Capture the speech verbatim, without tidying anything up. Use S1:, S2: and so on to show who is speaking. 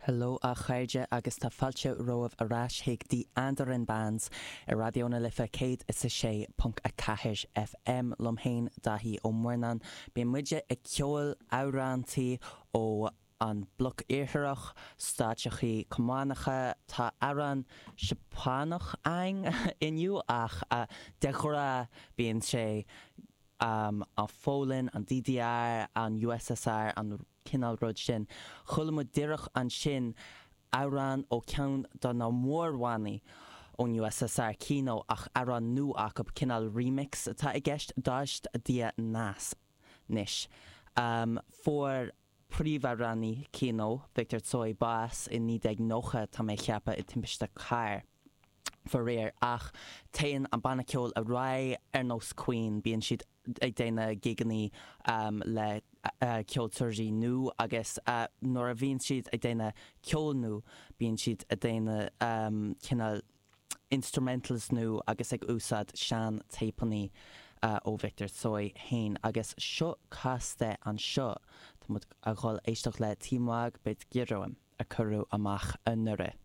S1: Hello a chairde agus tá fáilte romhaibh ar ais chuig The Andaran Bands ar Raidió na Life céad is a sé ponc a ceathair FM liom féin Daithí Ó Murnáin. Bíonn muide ag ceol amhrántaí ó an Bloc Iartharach, stáiteachaí cumannacha, tá amhrán Seapánach againn inniu ach de ghnáth bíonn sé um, an Pholainn, an DDR, an USSR, an cineál rud sin. Chuala muid díreach ansin amhrán ó ceann de na mórbhannaí ón USSR Kino ach amhrán nua acu cineál remix atá i gceist Dozhd dlya nas anois. Um, fuair príomhamhránaí Kino Victor Tsoi bás i naoi déag nócha tá mé ag ceapadh i timpiste cairr. Faraor ach téann an banna ceoil ar aghaidh ar nós Queen bíonn siad ag déanamh gigeanna um, le uh, ceoltóirí nua agus uh, nuair a bhíonn siad ag déanamh ceol nua bíonn siad ag déanamh um, cineál instrumentals nua agus ag úsáid sean téipeanna uh, ó Victor Tsoi féin agus seo cás de anseo Tá muid ag dul éisteacht le Ты мог быть героем a cuireadh amach anuraidh.